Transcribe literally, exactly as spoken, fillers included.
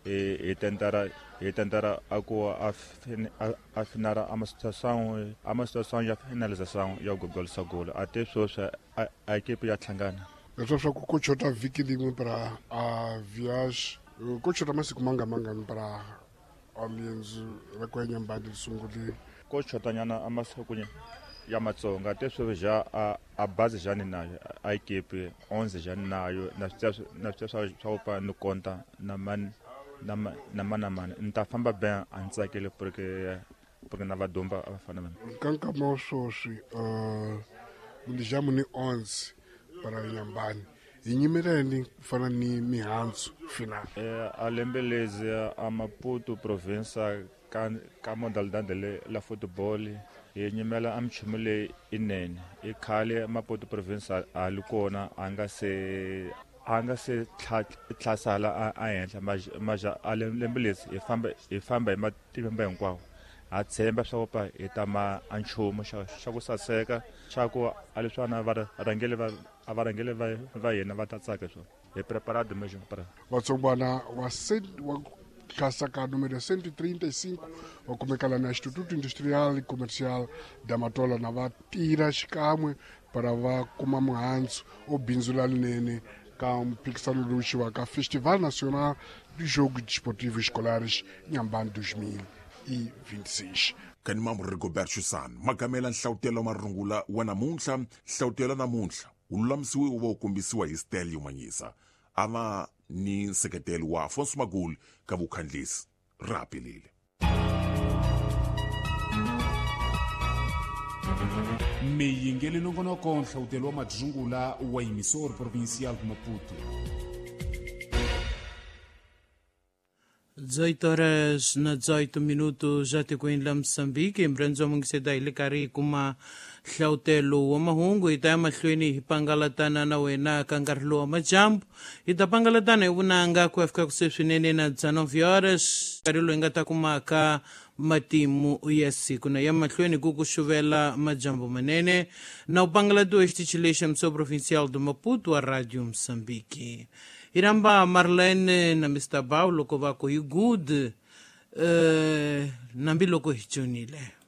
Hi hi tentara hi tentara a ku a a finara a situação a uma situação ya finalização ya gol sa gol até sweswi a a equipe ya hlangana. Leswi swa ku ku chota vhiki rin'we para a viage ku chota masiku manga mangani para a lienzo ra ku ya Nyambani ri sungule? Ko chotanyana a masiku ya matsonga te sweswi ja a a bazi ja ni nayo a equipe onze ja ni nayo na swi na swi swa swa ku ni konta na man na na mana mana ni ta famba ben a ni tsakile porque porque na vadumba a va fana na ka nkama wa sweswi uh mundijamu ni onze para Nyambani hi nyimeleni ku fana ni mihandzu final. Eh a lembe lezi a Maputo province ka ka modalidade le la football hi nyimela a minchumu leyi inene i khale Maputo province a li kona a nga se a nga se tlhasala a henhla maja a lembe lezi hi famba hi famba hi matimba hinkwawo ha tshemba swa ku pa hi ta ma a nchumu xa xa ku saseka xa ku a leswana va rhangele va a va rhangele va va yena va ta tsaka swona hi preparado mesmo para vatsongwana wa wa tlhasa ka número cento e trinta e cinco wa kumeka la na Instituto Industrial e Comercial da Matola na va tirha xikan'we para va kuma muhandzu o bindzu lalinene ka mphikisano lowu xiwaka Festival Nacional de Jogos Desportivos Escolares Inhambane dois mil e vinte e seis. Kanimambu Rigobert Chusan magamela nhlawutelo marungula wa namuntlha nhlawutelo namuntlha wu lulamisiwe wu va wu kombisiwa hi Stelio Manyisa a va ni nseketelo wa Afonso Magul ka vukhandlisi ra pelile. Miyingeli nongonoko nhlawutelo wa madzungula wa emissor provincial de Maputo. dezoito horas na dezoito minutos já te com Moçambique, em Mungiseda ile kari kuma hlautelo wa mahungu hi ta ya mahlweni hi pangalatana na wena ka nkarhi lowu wa majambu hi ta pangalatana hi vunanga ku ya fika kuse swinene na dezenove horas nkarhi lowu hi nga ta kumaka matimu ya siku na ya mahlweni ku ku xuvela majambu manene na u pangalatiwa xitichi lexi xa Provincial do Maputo wa Radio Moçambique. Hi rhamba Marlene na Mister Bao loko va ku hi good uh, nambi loko hi tshonile.